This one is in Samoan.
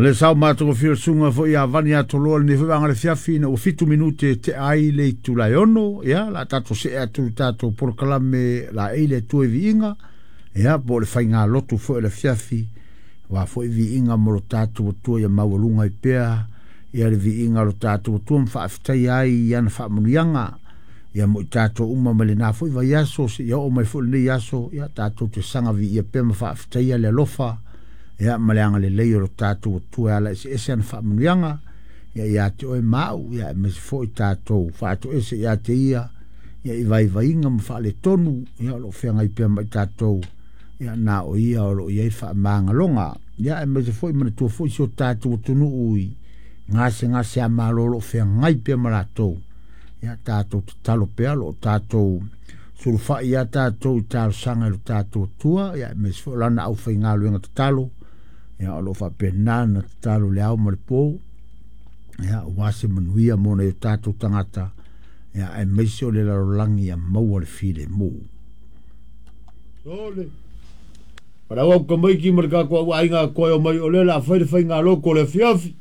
Le sao matagofie o le susuga foi ia Vani Atoloa i lenei foi vaega o le afiafi ina ua 7 minute e tea ai le itula e 6. Ia, o le a tatou see atu i le tatou polokalame laei le Atua i viiga, ia, po o le faigalotu foi o le afiafi, aua foi viiga mo lo tatou Atua ia maualuga ai pea ia le viiga o lo tatou Atua ma faafetaia ai i ana faamanuiaga. Ia mo i tatou uma mai lena foi vaiaso seia oo mai foi lenei aso, ia tatou te saga viia pea ma faafetaia le alofa ia ma le agalelei o lo tatou Atua e ala eseese ana faamanuiaga ia ia te oe ma au, ia aemaise foi tatou faatoese ia te ia ia i vaivaiga ma faaletonu ia o lo o feagai pea ma i tatou, ia na o ia o lo o i ai faamagaloga. Ia aemaise foi manatua foi si o tatou atunuu i gasegase a malo o lo o feagai pea ma latou, ia tatou tatalo pea o lo o tatou sulufai ia tatou i talosaga i lo tatou Atua, ia aemaise foi o lana aufaigaluega tatalo, ia o lo o faapena na tatalo le ao ma le po, ia aua se manuia mo nai o tatou tagata, ia aemaise o le lalolagi ia maua le filemu. Sole. Palau au kamaiki ma le tatou au aiga koe o mai o lea la fai le faigalotu o le afiafi.